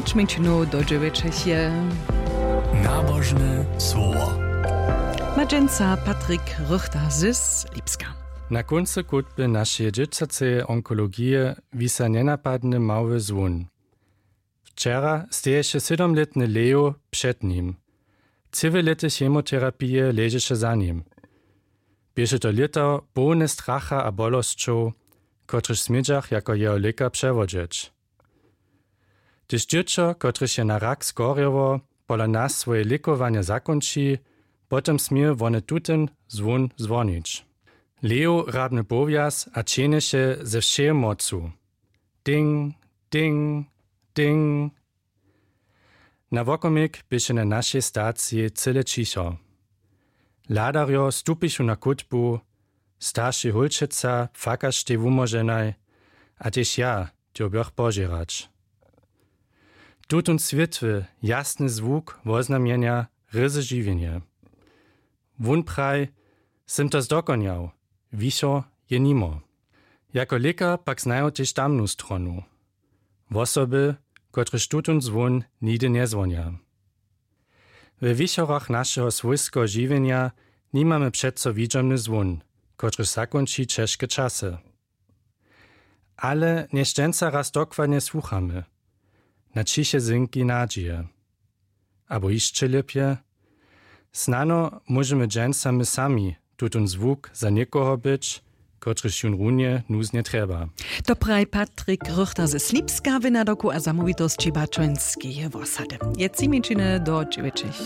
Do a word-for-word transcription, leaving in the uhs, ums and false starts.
Čmińčinow do dźewjećich je nabožne słowo. Ma dźensa Patrik Rychter z Lipska. Na kóncy chutby našeje dźěćaceje onkologije wisa njenapadny mały zwón. Wčera steješe sydomlětny Leo před nim. Tři lěty chemoterapije ležeše za nim. Běše to lěto połne stracha a bolosćow, kotryž smědźach jako jeho lěka přewodźeć. Hdyž dźěćo, kotrež je na rak skorjało, pola nas swoje lěkowanje zakónči, potom smě wone tutyn zwón zwonić. Leo hrabny powjaz a ćehnješe ze wšeje mocu. Ding, ding, ding. Na wokomik běše na našej staciji cyle ćicho. Hladarjo stupichu na chutbu, starši hólčeca płakaštej wumóženaj, a tež ja dyrbjach požěrać. Tutón swětły, jasny zwuk woznamjenja ryzy žiwjenje. Wón praj: „Sym to zdokonjał, wichor je nimo.“ Jako lěkar pak znaju tež tamnu stronu. Wosoby, kotrež tutón zwón nihdy njezwonja. We wichorach našeho swójskeho žiwjenja nimamy přeco widźomny zwón, kotryž zakónči ćežke časy. Ale nješćenca raz dokładnje słuchamy. Na ćiche zynki nadźije. Abo hišće lěpje, snano móžemy dźensa my sami tutón zwuk za někoho być, kotryž jón runje nuznje trjeba. To praji Patrik Rychter ze Slipska w nadawku a zamołwitosći Bačońskeje wosady. Je tři mjeńšiny do dźewjećich.